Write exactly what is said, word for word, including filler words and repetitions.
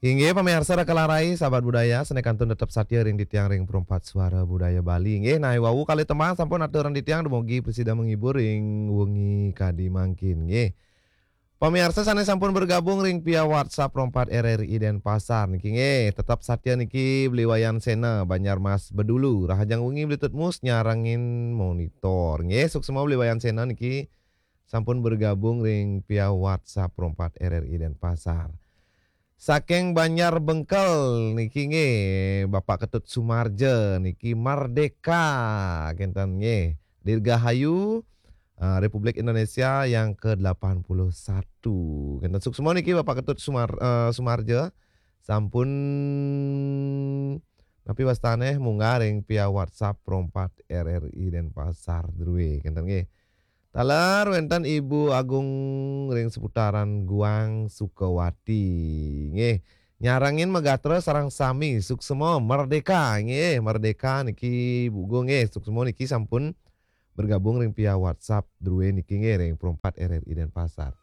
Inggih, pamiarsa Raka Larai, sahabat budaya, sané kantun tetep satia ring titiang ring Perempat Suara Budaya Bali. Inggih, nah, wau kalih tembang sampun aturan titiang, dumugi prasida menghibur ring wengi kadi mangkin. Inggih. Pamiarsa sané sampun bergabung ring via WhatsApp Perempat R R I Denpasar niki, nggih, tetep satia niki Beli Wayan Sena, Banjarmas Bedulu, rahajeng wengi Beli Tutmus nyarengin monitor. Nggih, suksma Beli Wayan Sena niki sampun bergabung ring via WhatsApp Perempat R R I Denpasar. Saking Banjar Bengkel niki, nggih, Bapak Ketut Sumarja niki, Merdeka, kénten, nggih. Dirgahayu, eh, Republik Indonesia yang kedelapan puluh satu. Kénten, suksma niki Bapak Ketut Sumar-, eh, Sumarja sampun napi wastané munggah ring via WhatsApp Perempat R R I Denpasar drué, kénten, nggih. Taler wénten Ibu Agung ring seputaran Guang, Sukawati. Nggih. Nyarengin magatra sareng sami, suksma, Merdeka, nggih, Merdeka niki, Bu Agung, nggih, suksma niki sampun bergabung ring via WhatsApp drué niki, nggih, ring Perempat R R I Denpasar.